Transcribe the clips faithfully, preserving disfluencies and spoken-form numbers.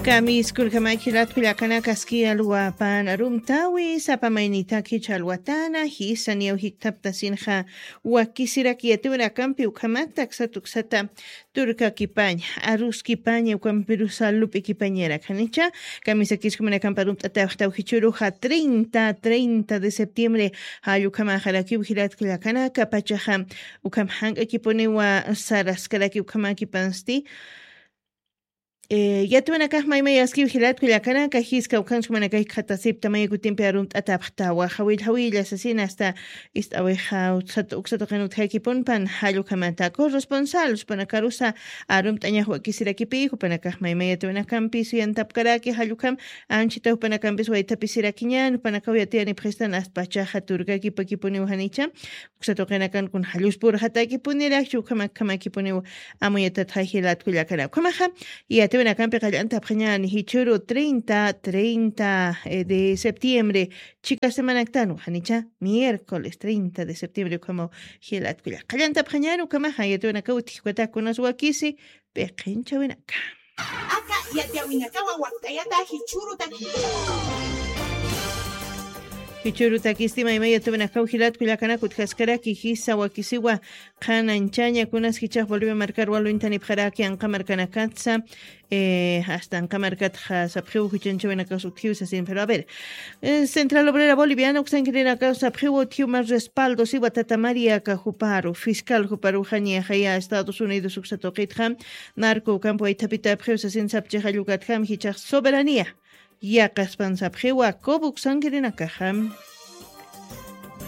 Kamiskurkamakilatkullakanakaski alwapan arumtawi sapamaynitaki chalwatana jisa niyaw jiktaptasinxa. Wakisiraki yatiwinakampi ukhamakta aksata uksata turkakipaña aruskipaña ukampirusa lup'ikipañarakanicha. Kamisakiskumanakampar umt'ataw jichuruxa treinta treinta de septiembre. Jallukamaxarakiw jilatkullakanaka pachaxa ukham jank'akipuniwa saraskarakiw ukhamakipansti. Yatwanakax maymayaskiw jilatkullakanaka jiska ukhanskumanakay khatasipta mayakutimpi arumt'atapxtawa jawillajawilla sasina asta ist'awixa uksatuqin utjakipunpan jallukhamata corresponsal supanakarusa arumt'añax wakisirakipi jupanakax maymaya tuwinakampis yantapkaraki jallukham anchita jupanakampis waythapisirakiñan jupanakaw yatiyanipxistan aspachaxa turkakipakipuniw janicha. Uksatuqinakan kun jalluspurxatakipunirakchi ukhamakkhamakipuniw amuyatatxa jilatkullakana ukhamaxa. Yatiwinakampi qallantapxañani jichuru treinta treinta de septiembre chika semanaktan janicha miércoles treinta de septiembre ukhamaw. Jilatkulla qallantapxañani ukhamaxa yatiwinakaw utjikukatakunas wakisi piqinchawinaka. Aka yatiyawinakawa wakt'ayata jichhurutaki. Jichhurutakisti maymaya tuwinakaw jilatkullakanaka utjaskaraki jisa wakisiwa qhananchaña kunas jichax bolivia markar walwintanipxaraki anqa markanakatsa. Hasta anqa markatxa sapxiw juchanchawinakaw utjiw sasin pero a ver. Central obrera boliviana uksankirinakaw sapxiw utjiw mas respaldo siwa tata maría kajuparu fiscal juparuxañaxaya estados unidos uksatuqitxa. Narco ukampi waythapitapxiw sasin sapchixallukatjam jichax soberanía. Yaqaspan sapxiwa cobo uksankirinakaxam.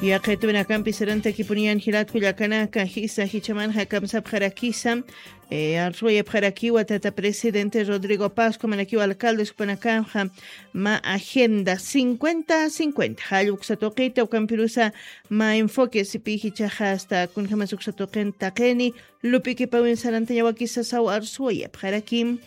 Yaqituwinakampi sarantakipuniyan jilatkullakanaka jisa jichamanxa kamsapxarakisa. Arsuwayapxarakiwa tata presidente rodrigo pasco manakiwa alcaldes jupanakaxa. Ma agenda cincuenta cincuenta jalluksa tuqita ukampirusa ma enfoque sipi jichaxa asta kunjamas uksa tuqin taqini. Lup'ikipawin sarantañawakisa saw arsuwayapxarakim.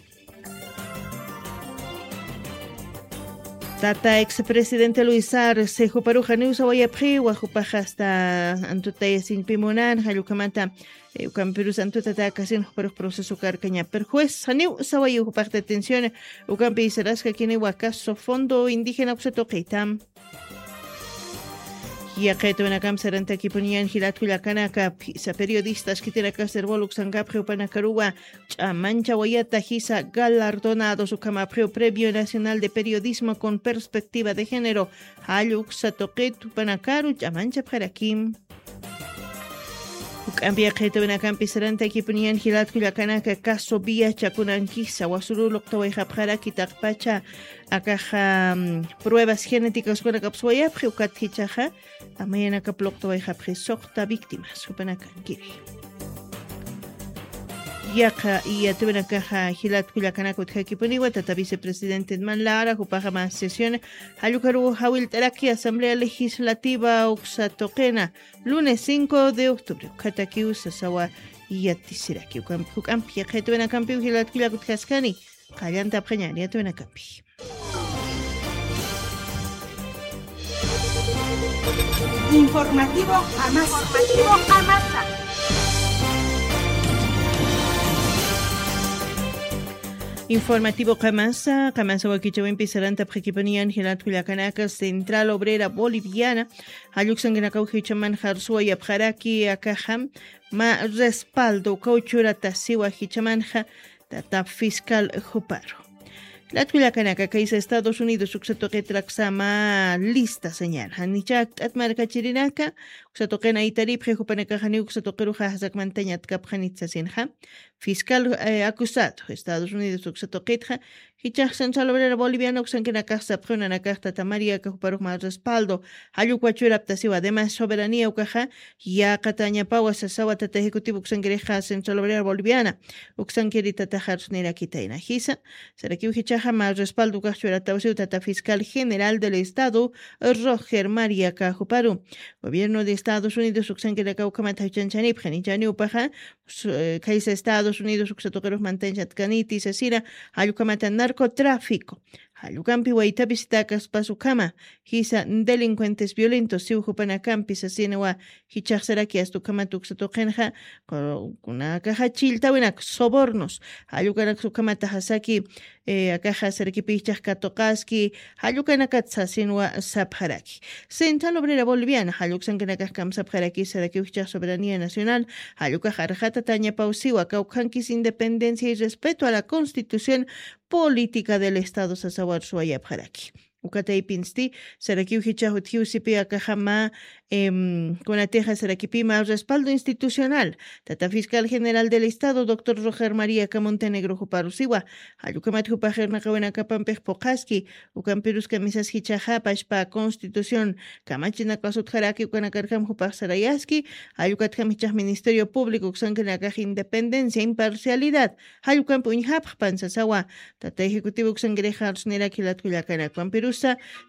Tata expresidente luis arce juparuxa niw sawayapxiwa jupaxa asta antutayasiñpi munan jallukhamata. Ukampirus antutata akasin juparux proceso karkaña pero juez janiw sawayiw jupax detención. Ukampi saraskakiniwa caso fondo indígena uksa tuqita. Yaqituwinakam sarantakipuniyan jilatkullakanaka phisa periodistas khitinakas servol uksankapxi jupanakaruwa ch'amanchawayata jisa galardonados ukhamapxiw premio nacional de periodismo con perspectiva de género. Jall uksa tuqit jupanakaru ch'amanchapxarakim. Juk'ampi yaqituwinakampi sarantakipuniyan jilatkullakanaka caso viacha kunankisa wasuru luqtawayxapxaraki taqpacha. Akaxa pruebas genéticas kunakapsuwayapxi ukat jichaxa. Amayanakap luqtawayxapxi suqta víctimas jupanakankiri. Yaqa yatiwinakaxa jilatkullakanaka utjakipuniwa tata vicepresidente man lara jupaxa mas sesión. Jallukaru jawillt'araki asamblea legislativa uksa tuqina lunes cinco de octubre ukhatakiw sasawa. Yatisiraki juk'ampi yaqituwinakampiw jilatkullaka utjaskani. Qallantapxañani yatiwinakampi. Informativo Amasa. Informativo qamasa qamasa wakichawimpi sarantapxakipuniyan jilatkullakanaka central obrera boliviana. Jalluksankinakaw jichaman jarsuwayapxaraki akaxam ma respaldo ukaw churatasiwa jichamanxa. Tata fiscal juparu. Latkullakanaka kaysa estados unidos uksa tuqitraksa ma lista sañan janichak t'at markachirinaka. Uksa tuqina itaripxi jupanakaxaniw uksa tuqiruxa jasakmantañatkapxanit sasinxa. Fiscal acusado estados unidos uksa tuqitxa. Jichax central obrera boliviana uksankinakax sapxi unanakax tata maría kajuparux ma respaldo. Jallukwa churaptasiwa además soberanía ukaxa. Yaqatañapawa sasawa tata ejecutivo uksankirixa central obrera boliviana. Uksankiri tataxarus nirakitayna jisa. Sarakiw jichaxa ma respaldo ukax churatawsiw tata fiscal general del estado. Roger maría kajuparu. Gobierno de estados unidos uksankiraka ukhamata juchanchanipxani chaniwpaxa. Kaysa estados unidos uksa tuqirux mantañchatkaniti sasira. Jallukhamata narcotráfico. Jall ukampi waytha visita kaspas ukhama, jisa delincuentes violentos siw jupanakampi sasinwa jichhaxsaraki asta ukhamat uksa tuqinxa, ku-, kunakaxa chilltawinak sobornos, jall ukanaksa ukhamata jasaki, eh, akaxa sarakipï jichhax katuqaski, jall ukanakat sasinwa sapxaraki. Central Obrera Boliviana, jall uksankanakax kamsapxaraki sarakiw jichhax soberanía nacional, jall ukax arxatatañapaw siwa, kawkhankis independencia y respeto a la Constitución Política del Estado sasawar suwayapxaraki. Uka taypinsti, sarakiw jichhax utjiw sipi akaxa mä, em, kunatixa sarakipï mä respaldo institucional. Tata Fiscal General del Estado, doctor Roger María K. Montenegro juparu siwa. Jall ukhamat jupax irnaqawinakapampix phuqhaski, ukampirus kamisas jichhaxa pachpa Constitución kamachinakas utjaraki ukanakarjam jupax sarayaski, jall ukatjam jichhax Ministerio Público uksankanakax independencia, imparcialidad, jall ukampi uñjapxpan sasawa, tata ejecutivo uksankirix arsuniraki jilat kullakanaka, ukhampirusa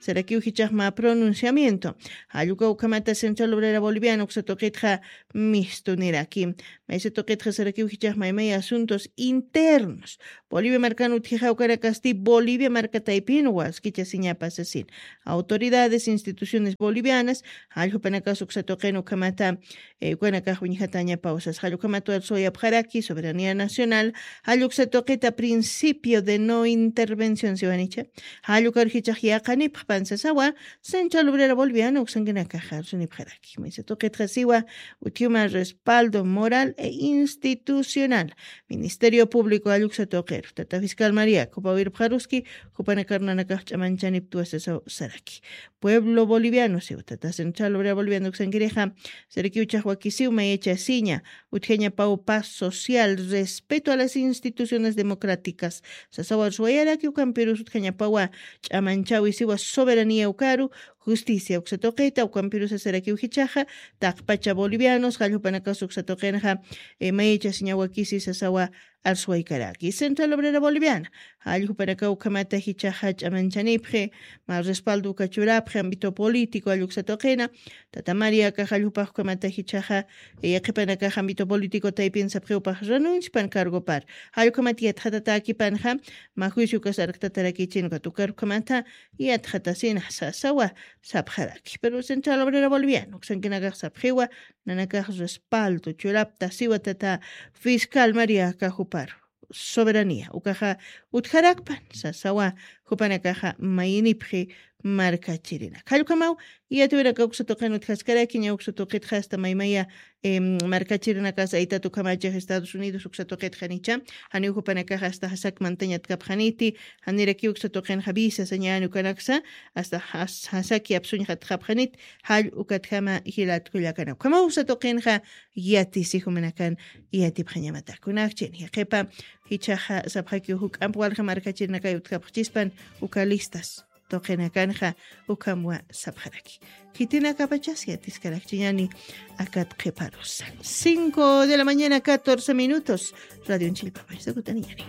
sarakiw jichhax mä pronunciamiento. Jall uka ukhamata Central Obrera Boliviana uksa tuqitxa mistuniraki. Maysa tuqitxa sarakiw jichhax maymay asuntos internos. Bolivia markan utjixa ukanakasti Bolivia marka taypinwa askichasiñapa sasin. Autoridades, instituciones bolivianas, jall jupanakas uksa tuqin ukhamata, eh, ukanakax uñjatañapaw sas. Jall ukhamat suwayapxaraki soberanía nacional, jall uksa tuqita principio de no intervención siwanicha. Jall ukar jichhax yaqhanipxpan sasawa, Central Obrera Boliviana uksankanakax arsunipxaraki. Maysa tuqitxa siwa, utjiw mä respaldo moral e institucional. Ministerio Público jall uksa tuqiru, tata Fiscal María, jupaw irpxaruski, jupanakar nanakax ch'amanchaniptwa sasaw saraki. Pueblo boliviano siwa, tata Central Obrera Boliviana uksankirixa, sarakiw jichhax wakisiw mayachasiña, utjañapaw paz social, respeto a las instituciones democráticas sasawar suwayaraki, ukampirus utjañapawa ch'amanchäwi siwa soberanía ukaru, justicia uksa tuqita, ukampirusa sarakiw jichhaxa, taqpacha bolivianos, jall jupanakas uksa tuqinxa, eh, mayachasiña wakisi sasawa arsuwaykaraki. Central Obrera Boliviana, jall jupanakaw ukhamata jichhaxa ch'amanchanipxi, mä respaldo uka churapxi, ámbito político, jall uksa tuqina, tata María, akax jall jupax ukhamata jichhaxa, eh, qhipanakax ámbito político taypin sapxiw jupax renuncipan cargopar. Jall ukhamat yatxatatäkipanxa, mä juicio ukas arktatarakichin ukat ukar ukhamata, yatxatasina sasawa sapxaraki. Pero Central Obrera Boliviana uksankanakax sapxiwa, nanakax respaldo churapta siwa tata Fiscal María, aka jupar soberanía ukaxa utjarakpan sasawa, jupanakaxa mayinipxi markachirinaka. Jall ukhamaw, yatiwinaka uksa tuqin utjaskaraki, ña uksa tuqitxa asta maymaya, em, markachirinakas aytat ukhamachix Estados Unidos uksa tuqitxa nicha, janiw jupanakaxa asta jasak mantañatkapxaniti, janirakiw uksa tuqinxa visa sañäni ukanaksa, asta jas-, jasaki apsuñxatxapxanit, jall ukatjama jilat kullakanaka. Ukhamaw uksa tuqinxa yatisi jumanakan yatipxañamata. Kunakchin, jaqhipa, jichhaxa sapxakiw juk'amp walja markachirinakay utjapxchispan uka listas tuqinakanxa ukhamwa sapxaraki. Khitinakapachas yatiskarakchiñani akat qhiparusa. Cinco de la mañana, catorce minutos. Radio Chillpapañ, sakutaniñani.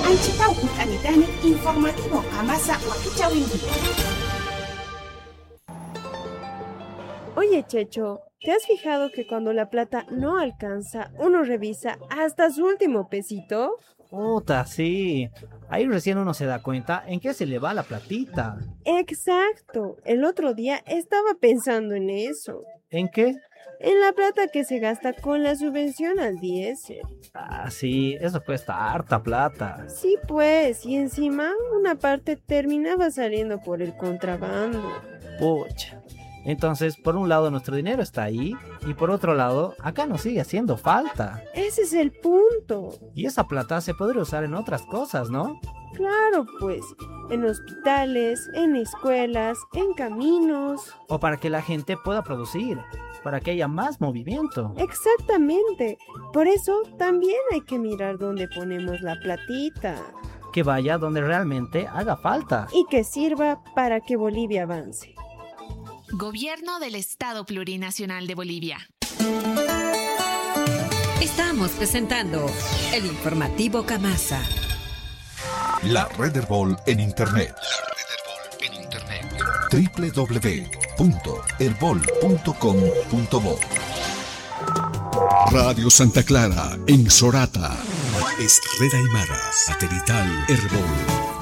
Anchitaw kut'anitani informativo Kamasa wakichäwinti. Oye, Checho, ¿te has fijado que cuando la plata no alcanza, uno revisa hasta su último pesito? Puta, sí. Ahí recién uno se da cuenta en qué se le va la platita. Exacto. El otro día estaba pensando en eso. ¿En qué? En la plata que se gasta con la subvención al diésel. Ah, sí, eso cuesta harta plata. Sí, pues, y encima una parte terminaba saliendo por el contrabando. Pucha. Entonces, por un lado nuestro dinero está ahí y por otro lado, acá nos sigue haciendo falta. Ese es el punto. Y esa plata se podría usar en otras cosas, ¿no? Claro, pues, en hospitales, en escuelas, en caminos. O para que la gente pueda producir, para que haya más movimiento. Exactamente. Por eso también hay que mirar dónde ponemos la platita. Que vaya donde realmente haga falta. Y que sirva para que Bolivia avance. Gobierno del Estado Plurinacional de Bolivia. Estamos presentando el informativo Kamasa. La Red Erbol en Internet. W W W punto erbol punto com punto bo. Radio Santa Clara en Sorata. Es Red Aymara, satelital, Erbol.